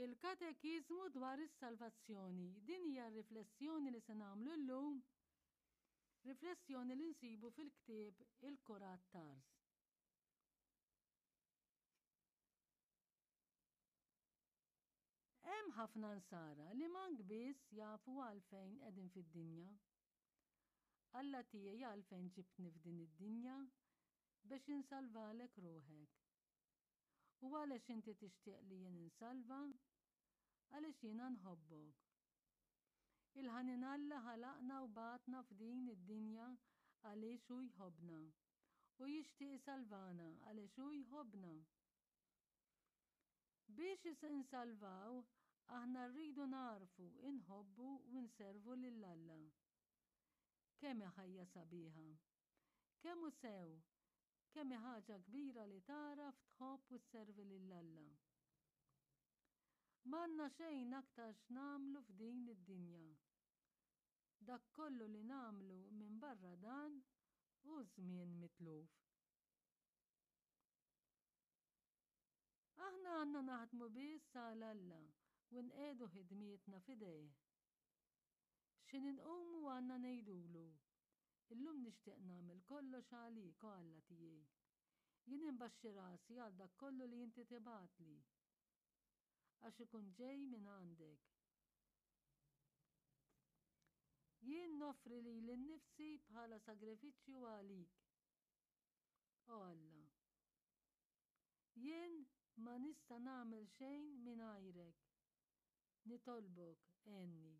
Il-Katekiżmu dwar is-salvazzjoni. Din hija r-riflessjoni li se nagħmlu llum, riflessjoni li nsibu fil-ktieb Il-Kurat Tars. Hemm ħafna nsara li mank biss jafu għalfejn qegħdin fid-dinja. Alla tiegħi għalfejn ġibtni f'din id-dinja biex insalvalek ruħek. U għalex inti tixtieq li jien insalva? Għaliex jiena nħobbok. Il-ħanin Alla ħalaqna u bagħatna f'din id-dinja għaliex hu jħobbna. U jixtieq isalvana għaliex hu jħobbna. Biex insalvaw, aħna rridu nagħrfu, inħobbu u nservu lil Alla. Kemm hi ħajja sabiħa! Kemm hu sew, kemm hi ħaġa kbira li tagħraf tħobb u sservi lil Alla. M'għandna xejn aktar x'nagħmlu f'din id-dinja. Dak kollu li nagħmlu minbarra dan hu żmien mitluf. Aħna għandna naħdmu biss għal Alla u nqiegħdu ħidmietna f'idejh. X'ħin inqumu għandna ngħidulu, Illum nixtieq nagħmel kollox għalik, o Alla tiegħi. Jien inbaxxi rasi għal dak kollu li inti tibgħatli, għax ikun ġej minn għandek. Jien noffri lili nnifsi bħala sagrifiċċju għalik, o Alla. Jien ma nista' nagħmel xejn mingħajrek. Nitolbok, għenni.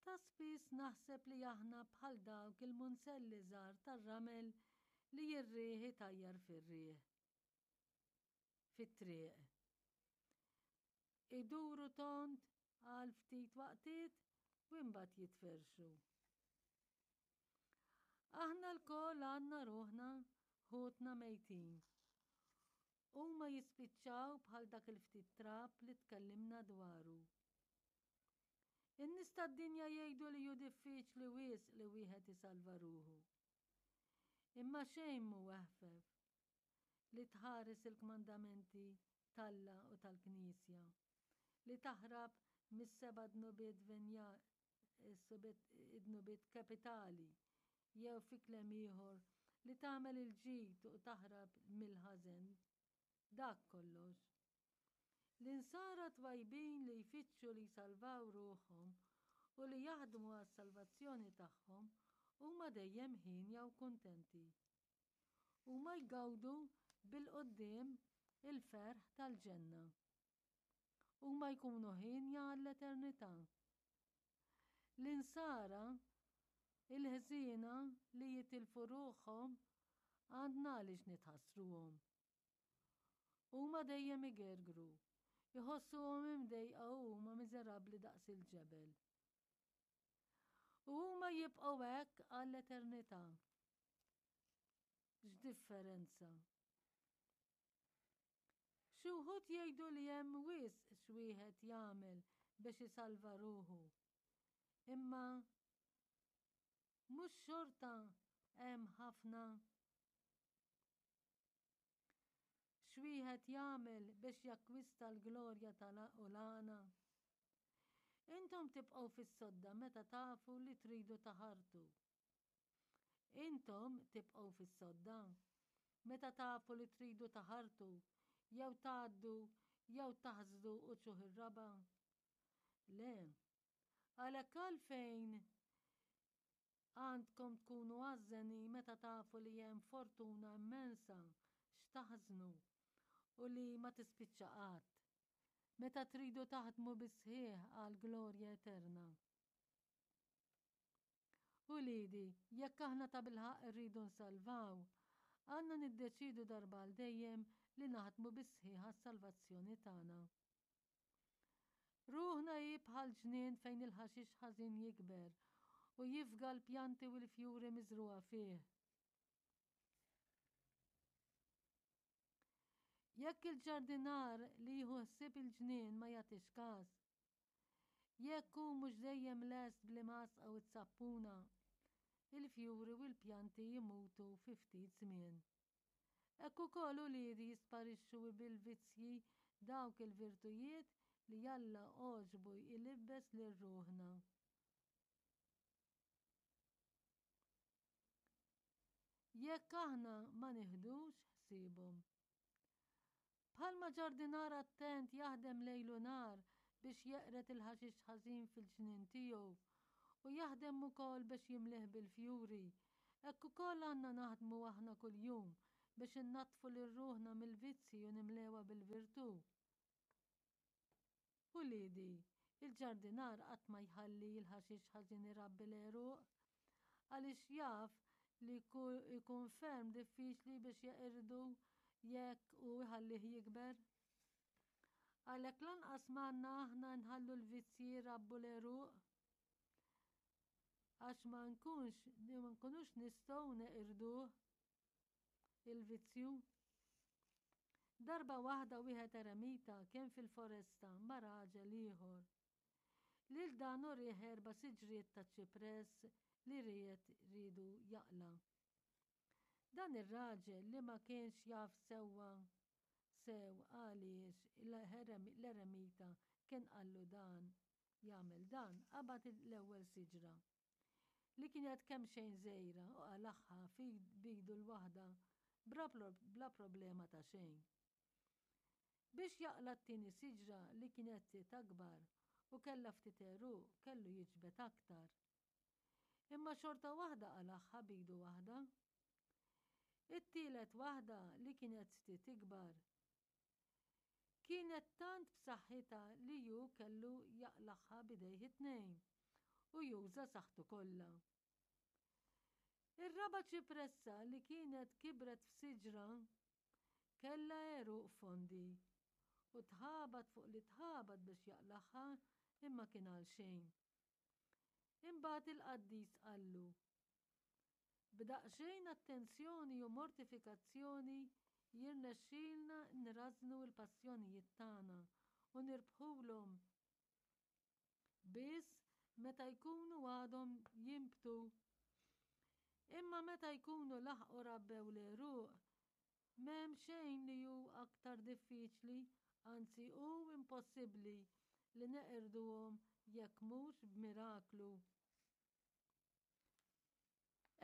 Ta' spiss naħseb li aħna bħal dawk il-munzelli żgħar tar-ramel li r-riħ itajjar fir-riħ. Fit-triq. Iduru tond għal ftit waqtiet u imbagħad jitferrxu. Aħna lkoll għandna ruħna ħutna mejtin. Huma jispiċċaw bħal dak il-ftit trab li tkellimna dwaru. In-nies tad-dinja jgħidu li hu diffiċli wisq li wieħed isalva ruħu. Imma xejn mhu eħfef li tħares il-kmandamenti t'Alla u tal-Knisja, li taħrab mis-seba' dnubiet venja id-dnubiet kapitali, jew fi kliem ieħor, li tagħmel il-ġid u taħrab mill-ħażen. Dak kollox. L-insara twajbin li jfittxu li jsalvaw ruħhom u li jaħdmu għas-salvazzjoni tagħhom huma dejjem hienja u kuntenti. Huma jgawdu bil-quddiem il-ferħ tal-ġenna. Huma jkunu hienja għall-eternità. L-insara il-ħżiena li jitilfu ruħhom għandna għaliex nitħassruhom. Huma dejjem igergru, iħossuhom imdejqa u huma miżerabbli daqs il-ġebel. U huma jibqgħu hekk għall-eternità. X'differenza! Xi wħud jgħidu li hemm wisq x'wieħed jagħmel biex isalva ruħu. Imma mhux xorta hemm ħafna X'wieħed jagħmel biex jakkwista l-glorja tal u l-għana? Intom tibqgħu fis-sodda meta tafu li tridu taħartu. Intom tibqgħu fis-sodda meta tafu li tridu taħartu jew tgħaddu jew taħsdu uċuħ ir-raba'? Le. Għalhekk għalfejn Għandkom tkunu għażżenin meta tafu li hemm fortuna immensa x'taħżnu u li ma tispiċċa qatt, meta tridu taħdmu bis-sħiħ għall-glorja eterna. Uliedi, jekk aħna tabilħaqq irridu nsalvaw, għandna niddeċiedu darba għal dejjem li naħdmu bis-sħiħ għas-salvazzjoni tagħna. Ruħna hi bħal ġnien fejn il-ħaxix ħażin jikber u jifga l-pjanti u l-fjuri miżrugħa fih. Jekk il-ġardinar li jieħu ħsieb il-ġnien ma jagħtix każ, jekk hu mhux dejjem lest bl-imgħasqa u t-sappuna, il-fjuri u l-pjanti jmutu fi ftit żmien. Hekk ukoll uliedi jisparixxu bil-vizzji dawk il-virtujiet li Alla għoġbu jlibbes lil ruħna. Jekk aħna ma niħdux ħsiebhom. Bħalma ġardinar attent jaħdem lejl u nhar biex jeqred il-ħaxix ħażin fil-ġnien tiegħu u jaħdem ukoll biex jimlieh bil-fjuri, hekk ukoll għandna naħdmu aħna kuljum biex innaddfu lil ruħna mill-vizzji u nimlewha bil-virtù. Uliedi, il-ġardinar qatt ma jħalli l-ħaxix ħażin irabbi l-għeruq, għaliex jaf li jkun ferm diffiċli biex jeqirdu jekk hu jħallih jikber. Għalhekk lanqas m'għandna aħna nħallu l-vizzji jrabbu l-għeruq, għax ma nkunx ma nkunux nistgħu neqirduh il-vizzju. Darba waħda wieħed eremita kien fil-foresta ma' raġel ieħor. Lil dan urieh erba' siġriet ta' ċipress li ried riedu jaqla'. Dan ir-raġel li ma kienx jaf sewwa sew għaliex l-eremita kien qallu dan jagħmel dan, qabad l-ewwel siġra, li kienet kemxejn żgħira u qalagħha b'idu l-waħda bla problema ta' xejn. Biex jaqla' t-tieni siġra li kienet ftit akbar u kellha ftit għeruq kellu jiġbed aktar. Imma xorta waħda qalagħha b'idu waħda. It-tielet waħda li kienet ftit ikbar Kienet tant b'saħħitha li hu kellu jaqlagħha b'idejh it-tnejn u juża saħħtu kollha. Ir-raba' ċipressa li kienet kibret f'siġra kellha għeruq fondi u tħabat fuq li tħabat biex jaqlagħha imma kien għalxejn. Imbagħad il-qaddis qallu, B'daqsxejn attenzjoni u mortifikazzjoni jirnexxilna nrażżnu l-passjonijiet tagħna u nirbħulhom biss meta jkunu għadhom jinbtu. Imma meta jkunu laħqu rabbew l-għeruq, m'hemm xejn li hu aktar diffiċli, anzi hu impossibbli li neqirduhom jekk mhux b'miraklu.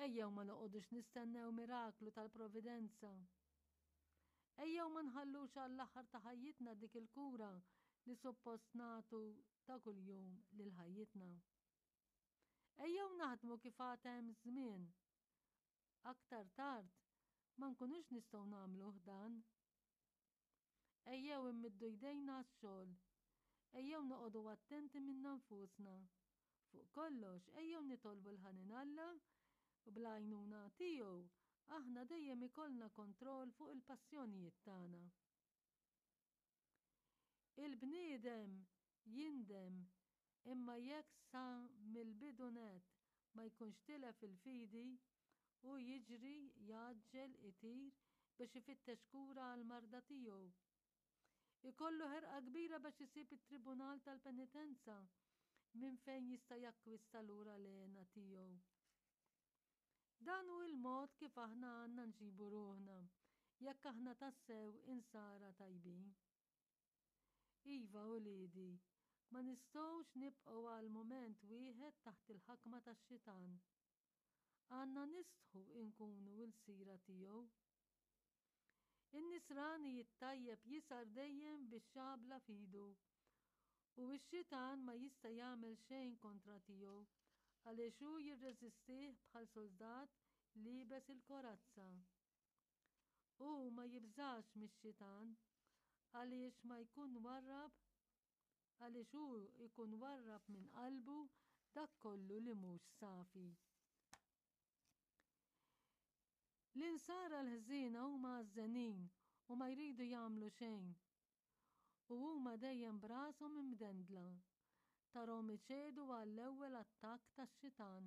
Ejjew ma noqogħdux nistennew miraklu tal-Providenza. Ejjew ma nħallux għall-aħħar ta' ħajjitna dik il-kura li suppost nagħtu ta' kuljum lil ħajjitna. Ejjew naħdmu kif għad hemm żmien. Aktar tard ma nkunux nistgħu nagħmluh dan. Ejjew immiddu jdejna għax-xogħol. Ejjew noqogħdu attenti minna nfusna. Fuq kollox, ejjew nitolbu l-ħanin Alla u bl-għajnuna tiegħu aħna dejjem ikollna kontroll fuq il-passjonijiet tagħna. Il-bniedem jindem imma jekk sa mill-bidu nett ma jkunx tilef il-fidi, hu jiġri, jgħaġġel, itir biex ifittex kura għall-marda tiegħu. Ikollu ħerqa kbira biex isib it-tribunal tal-penitenza minn fejn jista' jakkwista lura l-hena tiegħu. Dan hu l-mod kif aħna għandna nġibu ruħna jekk aħna tassew insara tajbin. Iva, uliedi, ma nistgħux nibqgħu għal mument wieħed taħt il-ħakma tax-xitan. Għandna nistħu nkunu lsira tiegħu. In-nisrani it-tajjeb jisgħar dejjem bix-xabla f'idu, u x-xitan ma jista' jagħmel xejn kontra tiegħu għaliex hu jirreżistih bħal suldat liebes il-korazza. Hu ma jibżax mix-xitan għaliex ma jkun warrab għaliex hu jkun warrab minn qalbu dak kollu li mhux safi. L-insara l-ħżiena huma għażżenin u ma jridu jagħmlu xejn. U huma dejjem b'rashom imdendla. Tarhom iċedu għall-ewwel attakk tax-xitan.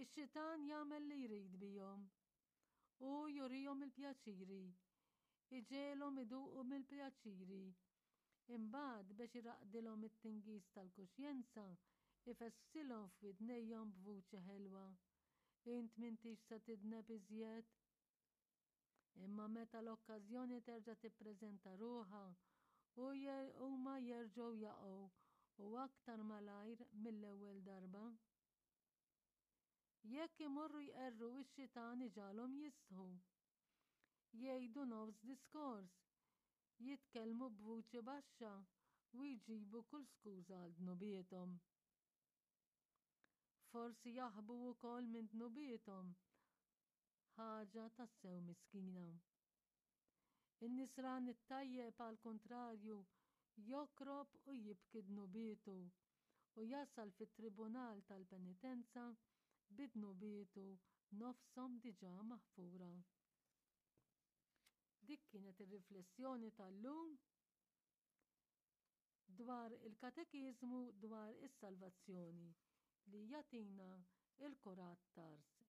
Ix-xitan jagħmel li jrid bihom. Hu jurihom il-pjaċiri. Iġegħelhom iduqu mill-pjaċiri. Imbagħad biex iraqqdilhom it-tingiż tal-kuxjenza, ifesfsilhom f'widnejhom b'vuċi ħelwa, Int m'intix se tidneb iżjed. Imma meta l-okkażjoni terġa' tippreżenta ruħha, huma jerġgħu jaqgħu u aktar malajr mill-ewwel darba. Jekk imorru jqerru x-xitan iġagħalhom jistħu. Jgħidu nofs diskors, jitkellmu b'vuċi baxxa u jġibu kull skuża għal dnubiethom. Forsi jaħbu wkoll minn dnubiethom, ħaġa tassew miskina. In-nisrani t-tajjeb għall-kuntrarju jokrob u jibki dnubietu u jasal fit-tribunal tal-penitenza bi dnubietu nofshom diġà maħfura. Dik kienet ir-riflessjoni tal-lum dwar il-katekiżmu dwar is-salvazzjoni li jagħtina il-Kurat t'Ars.